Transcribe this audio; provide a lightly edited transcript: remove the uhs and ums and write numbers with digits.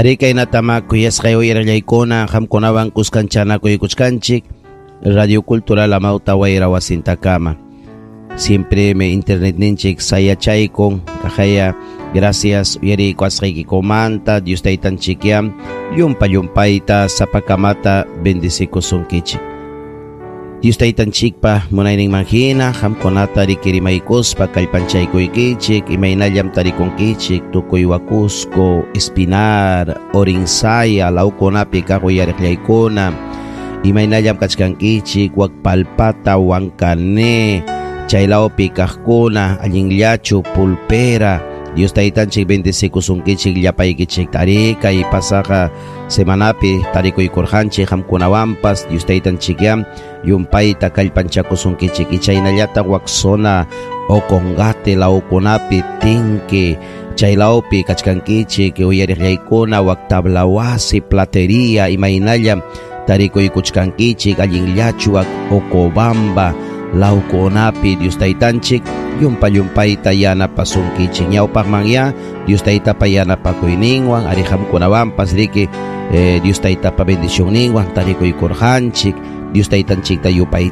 Arí, kaynatama kuyasqay uyarillaykuna qamkunawan kuskanchanakuykuchkanchik Radio Cultural Amauta Wayra wasintakama. Siempre me internet ninchik sayachaykun kajaya gracias uyariykuwasqaykikumanta Dios taytanchikyam llumpa llumpayta sapakamata bendecikusunkichik. Dios taytanchikpa munayninman hina qamkunata rikirimaykuspa kallpanchaykuykichik imaynallam tarikunkichik tukuy Huacusco, Espinar, Orinsaya lawkunapi kaq uyariqllaykuna imaynallam kachkankichik wak Palpata, Huancané chaylawpi kaqkuna allinllachu pulpera Dios taytanchik bendecikusunkichik llapaykichik arí kay pasaqa semanapi tarikuykurqanchik qamkunawanpas Dios taytanchikyam llumpayta kallpanchakusunkichik ichaynallata wak zona Ocongate lawkunapi Tinki chaylawpi kachkankichik uyariqllaykuna wak Tablawasi Platería imaynallam tarikuykuchkankichik allinllachu wak Ocobamba lawkunapi Dios taytanchik llumpa llumpayta yanapasunkichik ñawpaqmanya Dios taytapa yanapakuyninwan arí qamkunawanpas riki Dios taytapa bendicionninwan tarikuykurqanchik Dios taytanchikta yupay